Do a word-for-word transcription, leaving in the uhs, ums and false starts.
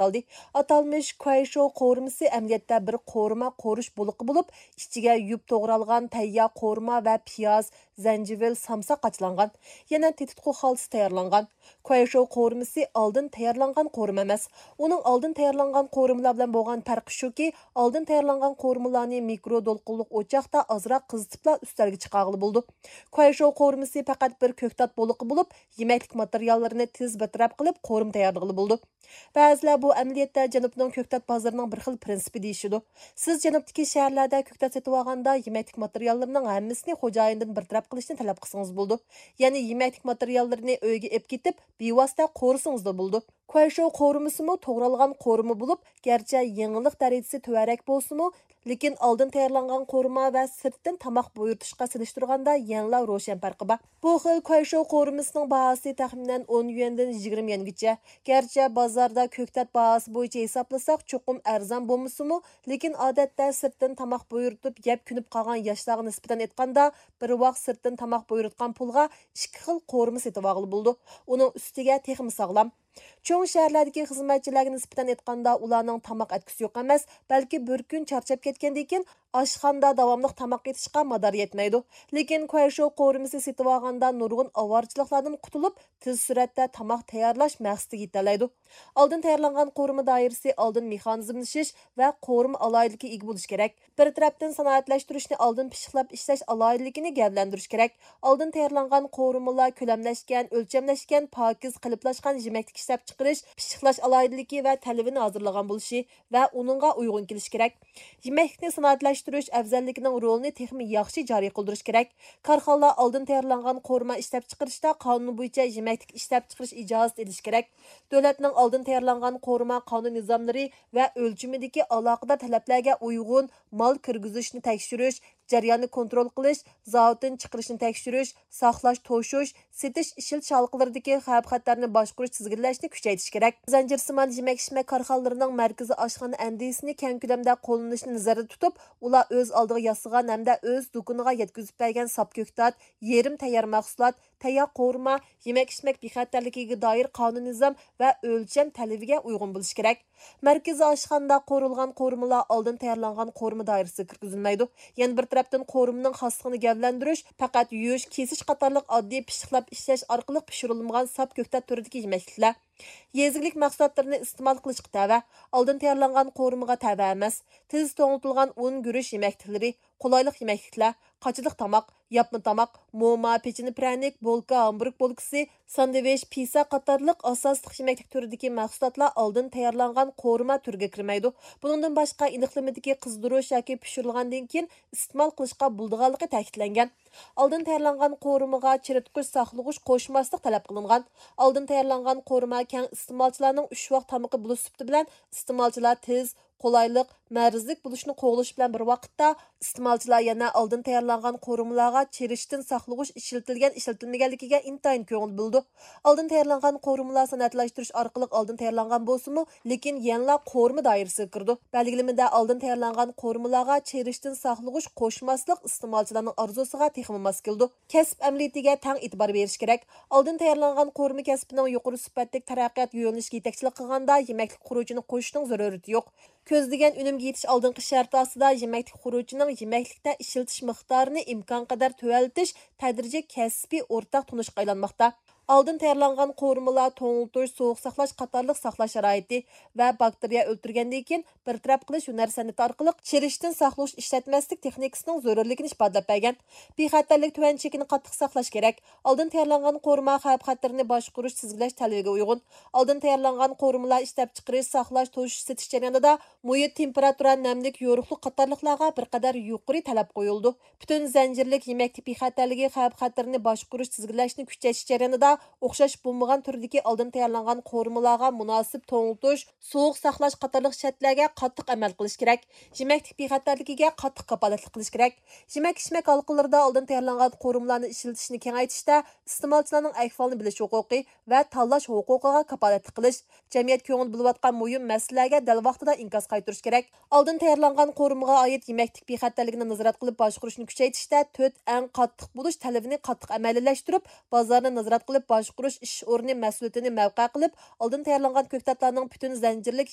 ئېنىقلىدى. ئاتالمىش كۇەيشوۋ قورۇمىسى ئەمەلىيەتتە بىر قورۇما قورۇش بولىقى بولۇپ، ئىچىگە يۇيۇپ توغرالغان تەييار قورۇما ۋە پىياز، زەنجىۋىل، سامساق قاچىلانغان. يەنە تېتىتقۇ خالتىسى تەييارلانغان. كۇەيشوۋ قورۇمىسى ئالدىن تەييارلانغان قورۇما ئەمەس. ئۇنىڭ ئالدىن تەييارلانغان قورۇمىلار بىلەن بولغان پەرقى شۇكى، ئالدىن تەييارلانغان قورۇمىلارنى مىكرو دولقۇنلۇق ئوچاقتا ئازراق قىزىتىپلا ئۈستەلگە چىقارغىلى بولىدۇ. كۇەيشوۋ قورۇمىسى پەقەت بىر كۆكتات بولىقى بولۇپ، يېمەكلىك ماتېرىياللىرىنى تېز بىر تەرەپ قىلىپ، قورۇما تەييارلىغىلى بولىدۇ. بەزىلەر بۇ ئەمەلىيەتتە جەنۇبنىڭ كۆكتات بازىرىنىڭ بىر خىل پىرىنسىپى دېيىشىدۇ. سىز جەنۇبتىكى شەھەرلەردە كۆكتات سېتىۋالغاندا، يېمەكلىك ماتېرىياللىرىنىڭ ھەممىسىنى خوجايىندىن بىر تەرەپ قىلىشنى تەلەپ قىلسىڭىز بولىدۇ. يەنى يېمەكلىك ماتېرىياللىرىنى ئۆيگە ئېلىپ كېتىپ، بىۋاسىتە قورۇسىڭىزلا بولىدۇ. كۇەيشوۋ قورۇمىسىمۇ توغرالغان قورۇما بولۇپ، گەرچە يېڭىلىق دەرىجىسى تۆۋەنرەك بولسىمۇ، لېكىن ئالدىن تەييارلانغان قورۇما ۋە سىرتتىن تاماق بۇيرۇتۇشقا سېلىشتۇرغاندا يەنىلا روشەن پەرقى بار. بۇ خىل كۇەيشوۋ قورۇمىسىنىڭ باھاسى تەخمىنەن ئون يۈەندىن يىگىرمە يۈەنگىچە. گەرچە بازاردا كۆكتات باھاسى بويىچە ھېسابلىساق چوقۇم ئەرزان بولمىسىمۇ، لېكىن ئادەتتە سىرتتىن تاماق بۇيرۇتۇپ يەپ كۆنۈپ قالغان ياشلارغا نىسبەتەن ئېيتقاندا، بىر ۋاق سىرتتىن تاماق بۇيرۇتقان پۇلغا ئىككى خىل قورۇما سېتىۋالغىلى بولىدۇ. ئۇنىڭ ئۈستىگە تېخىمۇ ساغلام. چوڭ شەھەرلەردىكى خىزمەتچىلەرگە نىسبەتەن ئېيتقاندا، ئۇلارنىڭ تاماق ئەتكۈسى يوق ئەمەس، بەلكى بىر كۈن چارچاپ كەتكەندىن كېيىن ئاشخانىدا داۋاملىق تاماق ئېتىشقا مادارى يەتمەيدۇ. لېكىن كۇەيشوۋ قورۇمىسى سېتىۋالغاندا نۇرغۇن ئاۋارىچىلىكلەردىن قۇتۇلۇپ، تېز سۈرئەتتە تاماق تەييارلاش مەقسىتىگە يېتەلەيدۇ. ئالدىن تەييارلانغان قورۇما دائىرىسى ئالدىن مېخانىزملىشىش ۋە قورۇما ئالاھىدىلىكىگە ئىگە بولۇشى كېرەك. بىر تەرەپتىن سانائەتلەشتۈرۈشنى ئالدىن پىششىقلاپ ئىشلەش ئالاھىدىلىكىنى گەۋدىلەندۈرۈش كېرەك. ئالدىن تەييارلانغان قورۇمىلار كۆلەملەشكەن، ئۆلچەملەشكەن، پاكىز قېلىپلاشقان يېمەكلىك ئىشلەپچىقىرىش، پىششىقلاش ئالاھىدىلىكى ۋە تەلىپىنى ھازىرلىغان بولۇشى ۋە ئۇنىڭغا ئۇيغۇن كېلىشى كېرەك. يېمەكلىكنى سانائەتلەشتۈرۈش ئەۋزەللىكىنىڭ رولىنى تېخىمۇ ياخشى جارى قىلدۇرۇش كېرەك. كارخانىلار ئالدىن تەييارلانغان قورۇما ئىشلەپچىقىرىشتا قانۇن بويىچە يېمەكلىك ئىشلەپچىقىرىش ئىجازىتى ئېلىشى كېرەك. دۆلەتنىڭ ئالدىن تەييارلانغان قورۇما قانۇن نىزاملىرى ۋە ئۆلچىمىدىكى ئالاقىدار تەلەپلەرگە ئۇيغۇن مال كىرگۈزۈشنى تەكشۈرۈش، جەرياننى كونترول قىلىش، زاۋۇتتىن چىقىرىشنى تەكشۈرۈش، ساقلاش، توشۇش، سېتىش، ئىشلىتىش ھالقىلىرىدىكى خەۋپ-خەتەرنى باشقۇرۇش، تىزگىنلەشنى كۈچەيتىش كېرەك. زەنجىرسىمان يېمەك-ئىچمەك كارخانىلىرىنىڭ مەركىزىي ئاشخانا ئەندىزىسىنى كەڭ كۆلەمدە قوللىنىشنى نەزەردە تۇتۇپ، ئۇلار ئۆز ئالدىغا ياسىغان ھەمدە ئۆز دۇكىنىغا يەتكۈزۈپ بەرگەن ساپ كۆكتات، يېرىم تەييار مەھسۇلات، تەييار قورۇما، يېمەك-ئىچمەك بىخەتەرلىكىگە دائىر قانۇن نىزام ۋە ئۆلچەم تەلىپىگە ئۇيغۇن بولۇشى كېرەك. مەركىزىي ئاشخانىدا قورۇلغان قورۇمىلار ئالدىن تەييارلانغان قورۇما دائىرىسىگە كىرگۈزۈلمەيدۇ. يەنە بىر تەرەپتىن، قورۇمىنىڭ خاسلىقىنى گەۋدىلەندۈرۈش، پەقەت يۇيۇش، كېسىش قاتارلىق ئاددىي پىششىقلاپ ئىشلەش ئارقىلىق پىشۇرۇلمىغان ساپ كۆكتات تۈرىدىكى يېمەكلىكلەر. يېزا ئىگىلىك مەھسۇلاتلىرىنى ئىستېمال قىلىشقا تەۋە، ئالدىن تەييارلانغان قورۇمىغا تەۋە ئەمەس. تېز توڭلىتىلغان ئۇن، گۈرۈچ يېمەكلىكلىرى، قولايلىق يېمەكلىكلەر، قاچىلىق تاماق، ياپما تاماق، موما، پېچىنە پىرەنىك، بولكا، ھامبۇرگ بولكىسى، ساندۋىچ، پىسسا قاتارلىق ئاساسلىق يېمەكلىك تۈرىدىكى مەھسۇلاتلار ئالدىن تەييارلانغان قورۇما تۈرىگە كىرمەيدۇ. بۇنىڭدىن باشقا، ئېنىقلىمىدىكى قىزدۇرۇش ياكى پىشۇرۇلغاندىن كېيىن ئىستېمال قىلىشقا بولىدىغانلىقى تەكىتلەنگەن. ئالدىن تەييارلانغان قورۇمىغا چىرىتقۇچ ساقلىغۇچ قوشماسلىق تەلەپ قىلىنغان. ئالدىن تەييارلانغان قورۇما كەڭ ئىستېمالچىلارنىڭ ئۈچ ۋاق تامىقى بولۇش سۈپىتى بىلەن ئىستېمالچىلار تېز، قولايلىق، مەرزلىك بولۇشنى قوغلىشى بىلەن بىر ۋاقىتتا، ئىستېمالچىلار يەنە ئالدىن تەييارلانغان قورۇمىلارغا چىرىشتىن ساقلىغۇچ ئىشلىتىلگەن، ئىشلىتىلمىگەنلىكىگە ئىنتايىن كۆڭۈل بۆلىدۇ. ئالدىن تەييارلانغان قورۇمىلار سانائەتلەشتۈرۈش ئارقىلىق ئالدىن تەييارلانغان بولسىمۇ، لېكىن يەنىلا قورۇما دائىرىسىگە كىرىدۇ. بەلگىلىمىدە ئالدىن تەييارلانغان قورۇمىلارغا چىرىشتىن ساقلىغۇچ قوشماسلىق ئىستېمالچىلارنىڭ ئارزۇسىغا تېخىمۇ ماس كېلىدۇ. كەسىپ ئەمەلىيىتىگە تەڭ ئېتىبار بېرىش كېرەك. ئالدىن تەييارلانغان قورۇما كەسپىنىڭ يۇقىرى سۈپەتلىك تەرەققىيات يۆنىلىشىگە يېتەكچىلىك قىلغاندا، يېمەكلىك خۇرۇجىنى قوشۇشنىڭ زۆرۈرىيىتى يوق. كۆزلىگەن ئۈنۈمگە يېتىش ئالدىنقى شەرتى ئاستىدا يېمەكلىك خۇرۇجىنىڭ يېمەكلىكتە ئىشلىتىش مىقدارىنى ئىمكانقەدەر تۆۋەنلىتىش تەدرىجىي كەسپىي ئورتاق تونۇشقا ئايلانماقتا. ئالدىن تەييارلانغان قورۇمىلار، توڭلىتىش، سوغۇق ساقلاش قاتارلىق ساقلاش شارائىتى ۋە باكتېرىيە ئۆلتۈرگەندىن كېيىن بىر تەرەپ قىلىش ھۈنەر سەنئىتى ئارقىلىق چىرىشتىن ساقلىغۇچ ئىشلەتمەسلىك تېخنىكىسىنىڭ زۆرۈرلۈكىنى ئىپادىلەپ بەرگەن. بىخەتەرلىك تۆۋەن چېكىنى قاتتىق ساقلاش كېرەك. ئالدىن تەييارلانغان قورۇما خەۋپ-خەتىرىنى باشقۇرۇش، تىزگىنلەش تەلىپىگە ئۇيغۇن. ئالدىن تەييارلانغان قورۇمىلار ئىشلەپچىقىرىش، ساقلاش، توشۇش، سېتىش جەريانىدا مۇھىت، تېمپېراتۇرا، نەملىك، يورۇقلۇق قاتارلىقلارغا بىر قەدەر يۇقىرى تەلەپ قويۇلىدۇ. پۈتۈن زەنجىرلىك يېمەكلىك بىخەتەرلىكى خەۋپ-خەتىرىنى باشقۇرۇش، تىزگىنلەشنى كۈچەيتىش جەريانىدا ئوخشاش بولمىغان تۈردىكى ئالدىن تەييارلانغان قورۇمىلارغا مۇناسىپ توڭلىتىش، سوغۇق ساقلاش قاتارلىق شەرتلەرگە قاتتىق ئەمەل قىلىش كېرەك. يېمەكلىك بىخەتەرلىكىگە قاتتىق كاپالەتلىك قىلىش كېرەك. يېمەك-ئىچمەك ھالقىلىرىدا ئالدىن تەييارلانغان قورۇمىلارنى ئىشلىتىشنى كېڭەيتىشتە ئىستېمالچىلارنىڭ ئەھۋالىنى بىلىش ھوقۇقى ۋە تاللاش ھوقۇقىغا كاپالەتلىك قىلىش، جەمئىيەت كۆڭۈل بۆلۈۋاتقان مۇھىم مەسىلىلەرگە دەل ۋاقتىدا ئىنكاس قايتۇرۇش كېرەك. ئالدىن تەييارلانغان قورۇمىغا ئائىت يېمەكلىك بىخەتەرلىكىنى نازارەت قىلىپ باشقۇرۇشنى كۈچەيتىشتە تۆت ئەڭ قاتتىق بولۇش تەلىپىنى قاتتىق ئەمەلىيلەشتۈرۈپ، بازارنى نازارەت قىلىپ باشقۇرۇش ئىش ئورنى مەسئۇلىيىتىنى مەۋقە قىلىپ، ئالدىن تەييارلانغان كۆكتاتلارنىڭ پۈتۈن زەنجىرلىك